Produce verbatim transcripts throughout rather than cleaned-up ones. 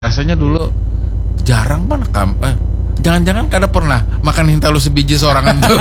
Rasanya dulu jarang mana kam eh, jangan-jangan kada pernah makan hintalu sebiji sorangan tuh.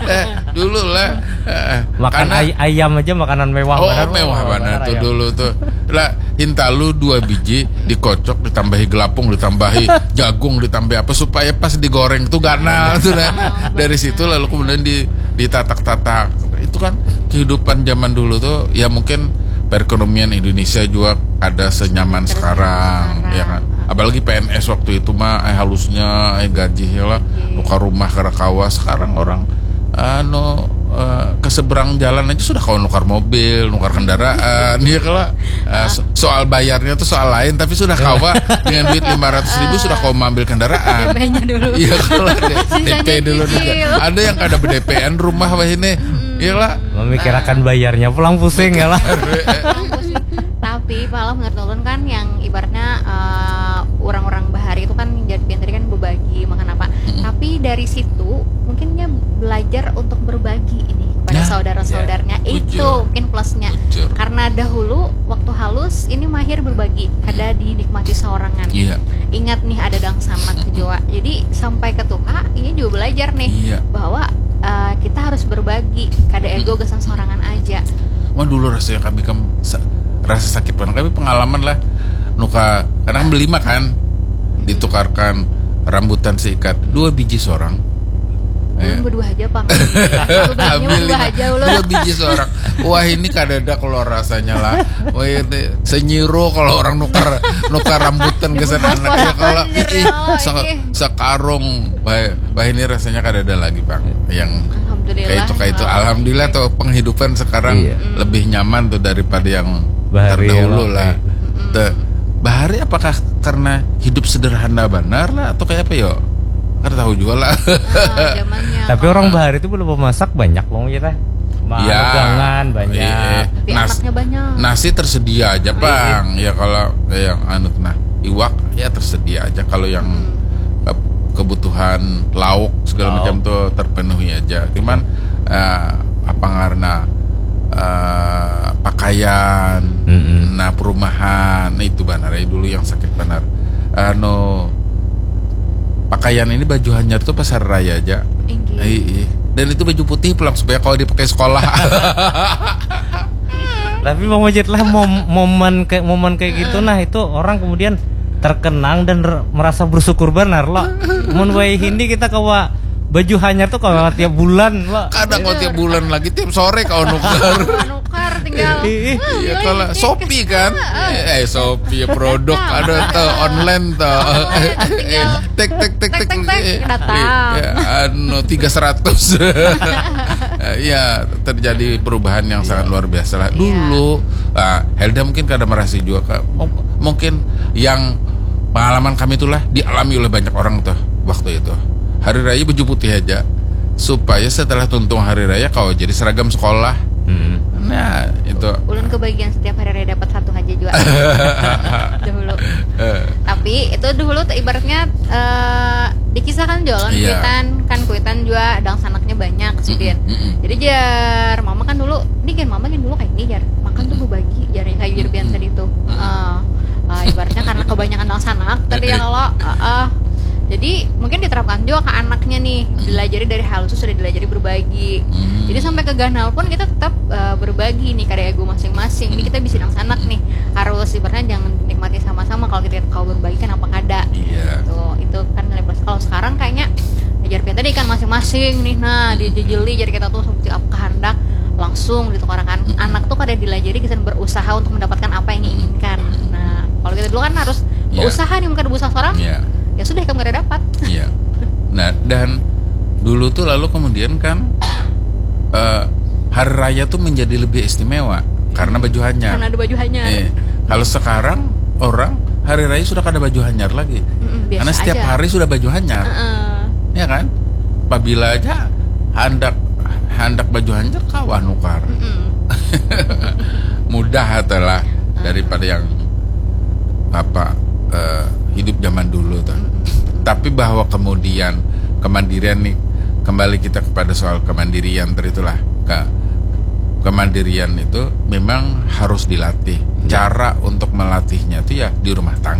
Eh, dulu lah. Eh, Makan karena- ay- ayam aja makanan mewah Oh, banar, mewah oh, banar tuh ayam. Dulu tuh. Lah, hintalu dua biji, dikocok, ditambahi gelapung, ditambahi jagung, ditambahi apa, supaya pas digoreng tuh ganal tuh, nah. Dari situ lalu kemudian di ditatak-tatak. Itu kan kehidupan zaman dulu tuh, ya, mungkin perekonomian Indonesia juga ada senyaman sekarang, Sekarang. Ya kan. Apalagi P N S waktu itu mah, eh, halusnya, eh, gaji ya lah, Iya. Nukar rumah kada kawa. Sekarang orang, anu, eh, ke seberang jalan aja sudah kawa nukar mobil, nukar kendaraan, ya kalau, eh, so- soal bayarnya tuh soal lain, tapi sudah kawa dengan duit lima ratus ribu sudah kawa mengambil kendaraan. Banyak dulu. Iya, kalau ada D P Sisanya dulu cicil. Ada yang kada ber-D P-an rumah wah ini. Iya lah. Memikirakan bayarnya pulang pusing ya lah. Tapi pala menurut ulun kan yang ibaratnya eh, orang-orang bahari itu kan jadi pinter kan berbagi makan apa. Tapi dari situ mungkinnya belajar untuk berbagi ini kepada Nah, saudara-saudaranya. ya, Itu bujur. Mungkin plusnya. Bujur. Karena dahulu waktu halus ini mahir berbagi, kada dinikmati seorang. Iya. Ingat nih ada dang sanak juga. Jadi sampai ke tuha ini juga belajar nih Iya. bahwa eh, kita harus berbagi, kada ego gasan sorangan aja. Wah, dulu rasanya kami kam sa- rasa sakit banget kami pengalaman lah nuka karena kan berlima kan ditukarkan rambutan seikat dua biji seorang. Ulun Eh, berdua aja pang. Aku baginya Kami berdua lima, aja ulun. Dua biji seorang. Wah, ini kadada kalau rasanya lah. Wah, ini senyiru kalau orang nukar nukar rambutan ke sana Dibungkus anaknya kalau ponakan, ih, oh, se- ini. Sekarung bah, bah ini rasanya kadada lagi bang yang Alhamdulillah. kayak itu kayak itu. Alhamdulillah tuh penghidupan sekarang Iya. Lebih nyaman tuh daripada yang Bahari terdahulu ya, lah. Bang. Tuh, bahari apakah karena hidup sederhana benar lah atau kayak apa yo? Kada tahu juga lah. Ah, zamannya Tapi kalau- orang bahari itu belum memasak banyak wong kita. Ya. Magangan banyak. Iya. Tapi Nas- anaknya banyak. Nasi tersedia aja bang. Ya kalau yang anu nah iwak ya tersedia aja kalau yang ke- kebutuhan lauk segala Lauk. Macam tuh terpenuhi aja. Cuman eh, apa karena eh, pakaian, Mm-mm. Nah perumahan nah, itu benar ya dulu yang sakit benar. Anu pakaian ini baju hanyar tuh pas hari raya aja. Inggih. Iya. Dan itu baju putih pulang supaya kalau dipakai sekolah. Tapi Bang Majid lah mom- momen kayak momen kayak gitu nah itu orang kemudian terkenang dan r- merasa bersyukur benar loh. Mun wae hindi kita kawa baju hanyar tuh kawa tiap bulan loh. Kadang kau tiap bulan lagi tiap sore kau nuker. Nukar tinggal. Ih, ih. Hmm, Ya beli kalau cek. Shopee kan, eh Shopee ya produk ada tuh online tuh. Tinggal Tek tek tek Tek, tek tek, tek, eh, datang. eh, anu tiga seratus. Ya terjadi perubahan yang sangat luar biasa lah. Iya. Dulu, ah, Helda mungkin kada merasa juga kak. Mung- Mungkin yang pengalaman kami itulah dialami oleh banyak orang tuh waktu itu. Hari raya baju putih aja supaya setelah tuntung hari raya kau jadi seragam sekolah. Hmm. Nah itu. Ulun kebagian setiap hari raya dapat satu aja juga. Dahulu. Eh, Tapi itu dahulu tuh ibaratnya eh, dikisahkan jualan Iya. Kuitan kan Kuitan juga dang sanaknya banyak sidin. Mm-mm. Jadi jar mama kan dulu, ini kan mama kan dulu kayak ini jar makan tuh berbagi jar kayak jar biasa tadi tuh. Eh, eh, ibaratnya karena kebanyakan dang sanak tadi ya Iya. Kalau eh, eh. Jadi mungkin diterapkan juga ke anaknya nih, dilajari dari halus tuh sudah dilajari berbagi. Hmm. Jadi sampai ke ganal pun kita tetap eh, berbagi nih kada ego masing-masing. Ini kita bisa dang sanak nih, harus ibaratnya jangan dinikmati sama-sama. Kalau kita kau berbagi kan apa kada? Iya. Tuh itu kan nilai plus. Kalau sekarang kayaknya ajar kita tadi kan masing-masing nih, nah dijejeli jadi kita tuh seperti apa kehendak langsung ditukarakan. Anak tuh kada dilajari kesan berusaha untuk mendapatkan apa yang diinginkan. Nah kalau kita dulu kan harus Iya. Usaha nih bukan usaha seorang. Iya. Ya sudah kamu kada dapat. Iya. Nah, dan dulu tuh lalu kemudian kan eh, hari raya tuh menjadi lebih istimewa karena baju hanyar. Karena ada baju hanyar. Eh, kalau sekarang orang hari raya sudah kada baju hanyar lagi. Mm-mm, biasa Karena setiap aja. Hari sudah baju hanyar. Heeh. Ya kan? Apabila aja handak handak baju hanyar kawa nukar. Mm-mm. Mudah atuh lah daripada yang apa eh, hidup zaman dulu tuh. Tapi bahwa kemudian kemandirian nih kembali kita kepada soal kemandirian tadi itulah ke kemandirian itu memang harus dilatih. Cara untuk melatihnya itu ya di rumah tangga.